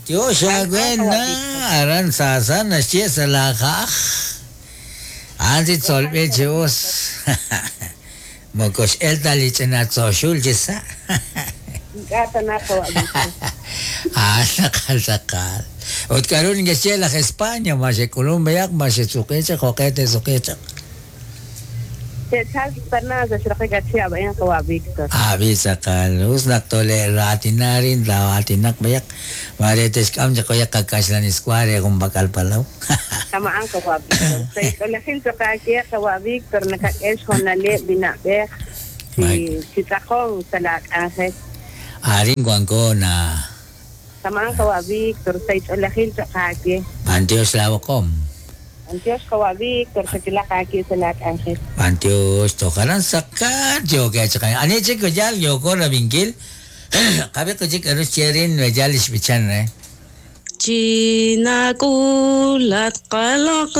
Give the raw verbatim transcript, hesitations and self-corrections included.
Tiox awe na aran saasa naxye sa' laaja'aj. A'an si tzolb'il chi us. Moko x'el ta li ch'ina tzoxul chi sa'. Ink'a' tana qawa' Víctor. Ah, tz'aqal tz'aqal. Ut k'a'ru neke'xye laj España, ma xe'k'ulunk b'ayaq, ma xe'suqi chaq, jo'q'e te'suqi chaq. Te'chalq tana sa' xraqik a chihab' a'in qawa' Víctor. Abi tz'aqal, us naq tole'raatina rin taa'aatinaq b'ayaq, mare te'xk'am chaq b'ayaq qakaxlaniswa re junpak'al palaw. Kama'an qawa' Víctor. Sa' xch'oolejil choq aawe qawa' Víctor nakak'e xjoonaleb' li na'b'ej chi chi tz'aqonk sa' laak'anjel. Arin wanko na. Kama'an qawa' Víctor, sa' xch'oolejil choq aawe. B'antiox laab'oqom. B'antiox qawa' Víctor, xakilaq aawe sa' laak'anjel. B'antiox tojaran saqal yookeb' chaq. Ani chik yal yooko rab'inkil? Qab'i chik k'a'ru xye rin yal li xb'ichan re. Chinak'ul at qaloq